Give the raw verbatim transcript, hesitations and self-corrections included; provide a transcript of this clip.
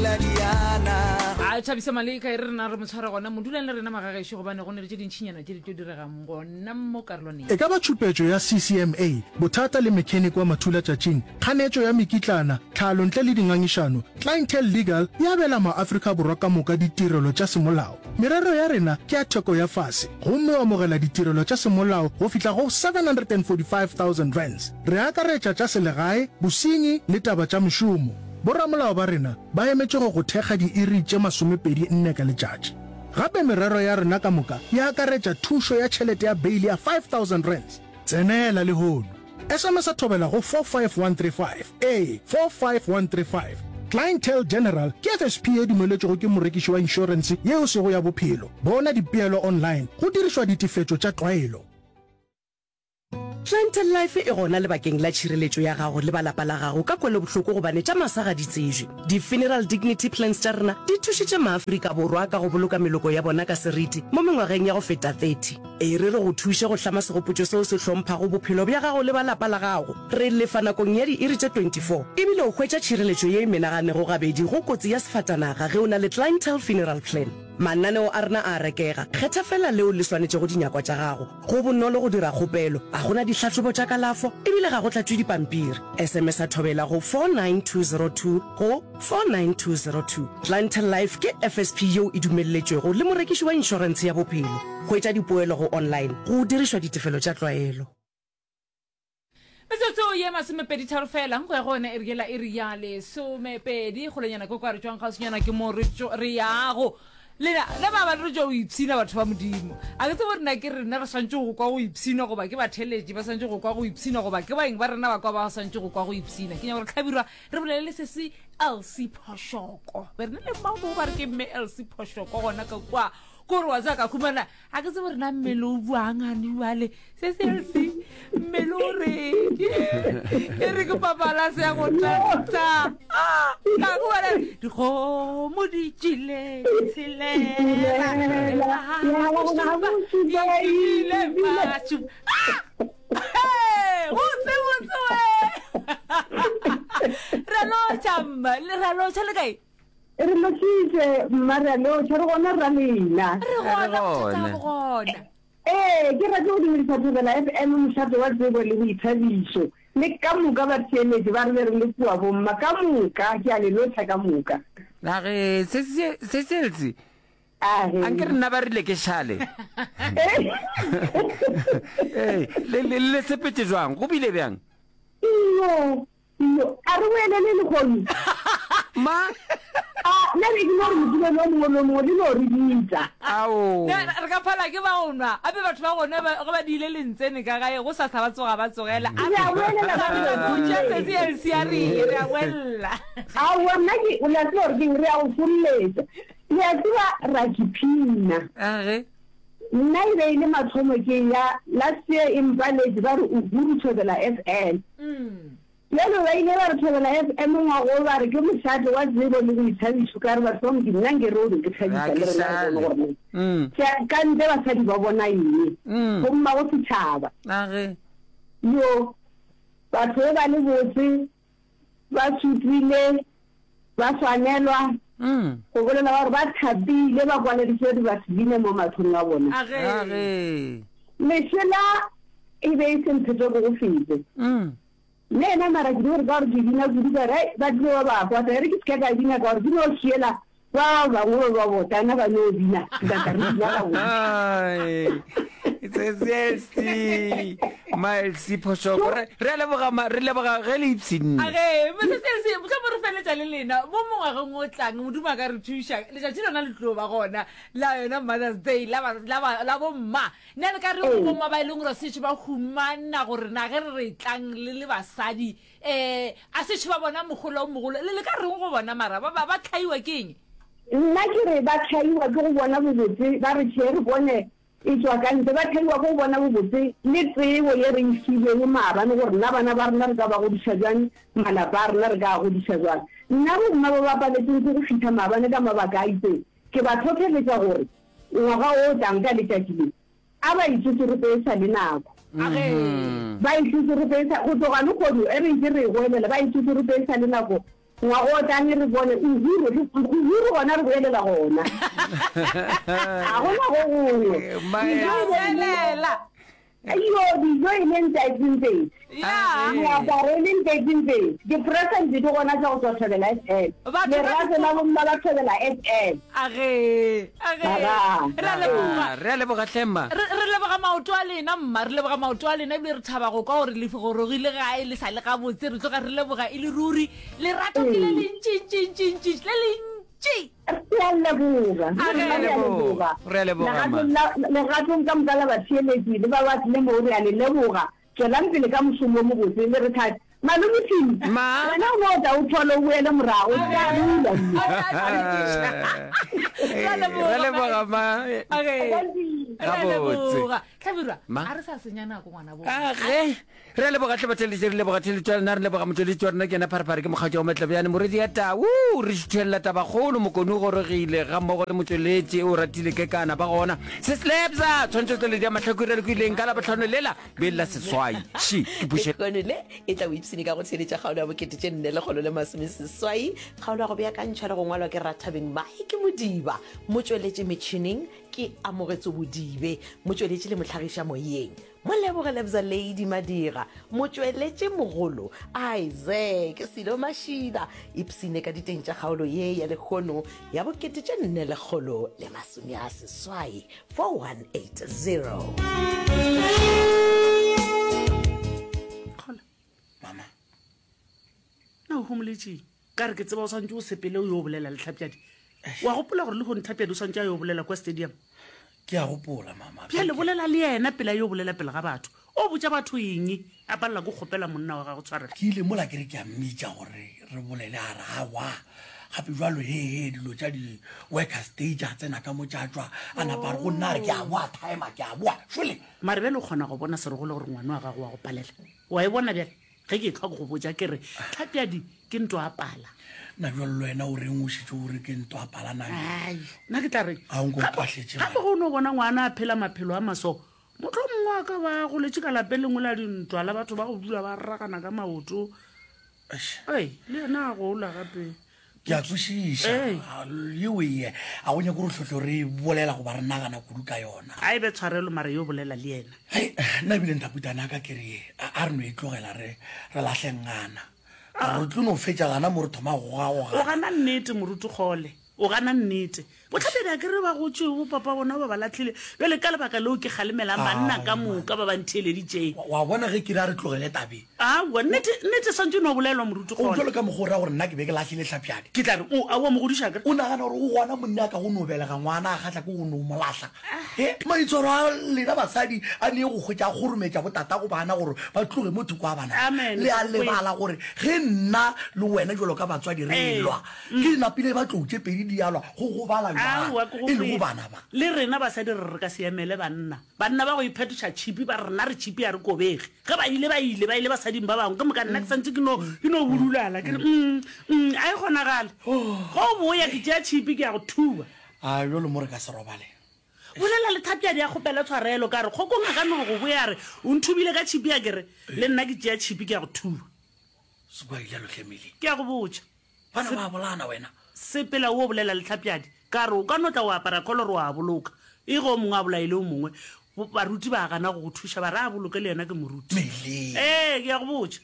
la diana. A Thabisa Maleka, e re rena re mo tshware gona mo. Dulang le rena magagešo gobane go ne le tše dintšinyana tše di tlo diregang gona mo karolwaneng. E ka ba tšhupetšo ya C C M A, bothata le mechanic wa mathulatšatšing, kganetšo ya mekitlana, tlhalo ntle le dingangišano, Clientele Legal e abela maAfrika Borwa ka moka ditirelo tša semolao. Merero ya rena ke ya theko ya fase gomme o amogela ditirelo tša semolao go fihla go seven hundred and forty-five thousand rands. Re akaretša tša selegae, bosenyi le taba tša mešomo. Boramolao ba rena ba emetše go go thekga diiri tše masomepedi nne ka letšatši. Gape merero ya rena ka moka e akaretša thušo ya tšhelete ya beile ya five thousand rands. Tsenela lehono. S M S a Thobela go four five one three five. Ee, four five one three five. Clientele General ke F S P e dumeletšwego ke morekiši wa inšorense yeo sego ya bophelo. Bona dipeelo online go dirišwa ditefetšo tša tlwaelo. Clientele Life e gona lebakeng la tšhireletšo ya gago le balapa la gago ka kwelobohloko gobane tša masa ga di tsejwe. Di-funeral dignity plans tša rena di thušitše maAfrika Borwa ka go boloka meloko ya bona ka seriti mo mengwageng ya go feta thirty. E re re go thuše go hlama segopotšo seo se hlomphago bophelo bja gago le balapa la gago. Re lefa nakong ya diiri tše twenty-four ebile o hwetša tšhireletšo ye e menaganego gabedi go kotsi ya sefatanaga ge o na le Clientele Funeral Plan. Mananeo a rena a rekega, kgetha fela leo le swanetšego dinyakwa tša gago. Go bonolo go dira kgopelo, a gona dihlahlobo tša kalafo ebile ga go tlatšwe dipampiri. S M S a Thobela go four nine two zero two go four nine two zero two. Clientele Life ke F S P yeo e dumelletšwego le morekiši wa inšorentshe ya bophelo. Hwetša dipoelo go online go dirišwa ditefelo tša tlwaelo. Metsotso ye masomepedi tharo fela go ya go yona e re yela e re ya lesomepedi kgolenyana ke kwa re tšwang kgauswinyana ke mo re tšo- re yago lena le ba ba re tšwa go ipshina. Batho ba Modimo, a ke tsebe gore na ke rena re swantse go kwa go ipshina goba ke batheletši ba swantse go kwa go ipshina goba ke baeng ba rena ba kwa ba swantse go kwa go ipshina. Ke nyaka gore tlhabirwa re bolele le sesi Elsie Phoshoko, be re ne le mmamo ba re ke mme Elsie Phoshoko gona ka kwa kore wa tsaya ka khumana. A ke tsebe gore na mmele o buang ane jale se se Elsie, mmele o reng? E re ke papalase ya go tanta ka khumana dikgomo di tšile tshelela ile mašupa botse botse we. Re lotšha mma, re lotšha le kae? Re lotšitše mma, re a lotšha, re gona ra lena. Re gona, bothata bo gona. Ee, ke rate go dumedisa Thobela F M, mošate wa tsebo le boithabišo, le ka moka batheeletši ba re be re le kua bomma ka moka, ke a le lotšha ka moka. Age se se se se Age. Anke re nna ba rile ke šale. Ee, le le le sepetse jwang? Go bile bjang? Iyo, iyo, a re boelele lehono. Ma A nna be ke no re Mokibelo o mongwe le o mongwe le no re bitsa. Ao. Ne, re ka phala ke ba go nwa ape batho ba gone ba- ge ba diile lentsene ka gae go sasa ba tsoga ba tsogela. Re a boelela ba re Botša sesi Elsie a re re a boelela. Aowa, nna ke o le a tseba gore keng, re a go fololetša. Le a tseba ra kiphina. Age. Nna e be e le mathomo ke ya last year e mpaletše ba re Uhuru Thobela F M. Bjalo ba ile ba re Thobela F M ngwago ba re ke mošate wa tsebo le boithabišo, ka re batho ba Modimo nna nke re o be ke thabisa Ga le ke rena re bone šale. gore na Mm. tša ka ntle basadi ba bona eng Mm. go mmago setšhaba. Age. Yo batho be ba le botse ba sutlile ba swanelwa Mm. go bolela ba gore ba thapile ba kwaleditše divaseline mo mahlong a bona. Age. Age. Lešela e be e se mphete ko go fete. Mm. Le yena mara ke di gore ka gore ke bina kudu ka re ai ba tlile ba ba kwata, e re ke se ka ka bina ka gore ke no šiela ba bangwe ba ba botana ba no bina ka tla re bina gabotse. Ai. Se se ma Elsie Phoshoko. Re re a leboga ma re leboga ge le ipshinne. Age mosesi Elsie, motlho mo re feletša le lena mo mongwageng o tlang, Modimo a ka re thuša letšatši lona le tlo ba gona la yona Mother's Day la ba- la ba- la bomma. Nna le ka re go bomma ba e leng gore setše ba humana gore na ge re re tlang le le basadi um a setše ba bona mogolo o mogolo, le le ka reng go bona mara ba ba ba tlhaiwa ke eng? Nna ke re ba tlhaiwa ke go bona bobotse, ba re tšhe re bone e tšwa ka ntle, ba tlhaiwa ke go bona bobotse le tsebo ye re e filweng maabane gore nna bana ba rena re ka ba godiša bjang, malapa a rena re ka a godiša bjang. Nna bomma ba ba paletseng ke go fihla maabane ka mabaka a itseng, ke ba tlhotlheletša gore ngwaga o tlang ka letšatši le a ba itsotsorope e sa le nako. Age. Ba itsotsorope e sa go tloga lehono e re ntse re e goelela, ba itsotsorope e sa le nako. Ngwaga o tlang re bone Uhuru, re, Uhuru gona re boelela gona. Ga gona go gongwe. Dijo e be e le, Felela. Iyo, dijo e le ntaetseng-pedi. Ya. Meaparo e le ntaetseng-pedi. Di-present di gona tša go tšwa Thobela F M. Batho ba Lerato la bomma ba Thobela F M. Age, age. Aga. Re a leboga. Ah, re a leboga hle mma. Re, re leboga maoto a lena, mma. Re leboga maoto a lena ebile re thaba go kwa gore le gorogile gae le sa le gabotse. Re tloga re leboga e le ruri. Lerato ke le lentši-ntši-ntši-ntši, le lentši. Re a leboga. A Le re rena re a leboga. Re a leboga, mma. Legatong la, legatong ka moka la batheeletši le ba ba tlile mo, re a le leboga. Tšwelang pele ka mošomo wo mobotse le re thate. Malome Tim, Ma. wena o no tla o thole o boele morago, o tla dula mo. Re a leboga, Re a leboga, ma. Okay. Re a Gabotse. leboga. Hlabirwa, Ma. a re sa senya nako ngwana bo. A ge re a leboga hle batheeletši, re leboga theeletšo ya lena, re leboga motšweletši wa rena ke yena Pharephare, ke mokgatšo wa Matlabjane, morwedi ya tau, re šuthelela tabakgolo, Mokone o gorogile ga mmogo le motšweletši o ratile kekana ba gona, se Slebza, tshwantšho tšweletši ya mahlakore re kwileng ka Labohlano lela be la seswai, ši ke puše. Lehono le e tla o ipshine ka go theeletša kgaolo ya bokete tše nne lekgolo le masomeseswai, kgaolo ya go beakantšhwa le go ngwalwa ke Rathabeng Mike Modiba, motšweletši metšhineng ke Amogetso Bodibe, motšweletši le mohlagiša moyeng Moleboge Lebza Lady Madira, motšweletši mogolo Isaac Silo Mashida. Ipshine ka diteng tša kgaolo ye ya lehono ya bokete tše nne lekgolo le masome a seswai, four one eight zero. Kgola. Mama. Na o homoletšeng? Ka re ke tseba o swantše o sepele o yo bolela le Tlhapjadi. Wa gopola gore lehono Tlhapjadi o swantše a yo bolela kwa stadium? Ke a gopola, mama. Bjale bolela le yena pele a yo bolela pele ga batho. O botša batho eng? A palela ke go kgopela monna wa gagwe tshwarelo. Ke ile mola ke re ke a mmitša gore re bolele, a re aowa. Gape jwalo, he, he, dilo tša di-workers day tša tsena ka mo tša tšwa. A napa a re go nna, a re ke a boa timer, ke a boa. Šole. Mare bjale o kgona go bona Serogolo gore ngwana wa gago wa go palela. Wa e bona bjale? Ge ke ehlwa ke go botša ke re Tlhapjadi ke ntwa a pala. Na bjalo le wena o reng o šetše o re ke ntwa a pala na bjale? Ai, nna ke tla reng? A o nko Gape, mpahletše, gape man. ge o no bona ngwana a phela maphelo a maso, mohlomongwe a ka ba goletše ka lapeng lengwe la dintwa la batho ba go dula ba ragana ka maoto. Eish. Ei, le yena a gola gape. Ke a kwešiša. Ei. A, yeo e, a go nyake gore hlotlo re bolela goba re nagana kudu ka yona. A e be tshwarelo mara yo bolela le yena. Hei, nna ebile nthaputana ka ke re, a, a re no e tlogela re, re lahle ngana. Ka re tlo no fetša gana mo re thoma go goga-gogana. O gana nnete, moruti Kgole. O gana nnete. Bohlapedi a ke re ba gotše bo papa bona ba ba lahlile. Bjale ka lebaka leo ke kgalemelang banna ka moka ba ba ntheeleditšeng. Wa, wa bona ge ke re a re tlogele tabeng. Aowa, nnete, nnete swantše no bolelwa, moruti O Kgole. jwalo ka mokgwa o ra gore nna ke be ke lahlile Hlapjadi. Ke tla re, o, aowa, mogodiša ke re. O nagana gore o gona monna a ka go no belega ngwana a kgahla ke go no mo lahla? He, maitshwaro a lena basadi a nee go hwetša a kgorometša botatago bana gore ba tloge mo thoko a bana. Amen. Le a lebala gore ge nna le wena jwalo ka batswadi re Ee. elwa, ke napile ba tlou tše pedi di alwa go gobala bjang, Aowa, ke go e lego kwele. bana ba. Le rena basadi re re ka se emele banna. Banna ba go iphetoša tšhipi ba re rena re tšhipi a re kobege. Ge ba ile ba ile, ba ile basading ba bangwe. Ke moka nna ke santše ke no, ke no budulala. Ke re, mm, mm, a e kgonagale. Ge o boya ke tšea tšhipi ke ya go thuba. A bjalo mo re ka se robale. Bolela le Thapjadi a kgopele tshwarelo ka re kgokong a ka no go boya a re o nthubile ka tšhipi a ke re le nna ke tšea tšhipi ke ya go thuba. Se kwa ile lohle mele. Ke ya go botša. Bana ba bolana wena. Sepela o bolela le Tlhapjadi ka re o ka no tla o apara kolore wa boloka. E ge o mongwe a bolaile o mongwe, baruti ba gana go go thuša ba re a boloke le yena ke moruti. Mele. Ee, ke ya go botša.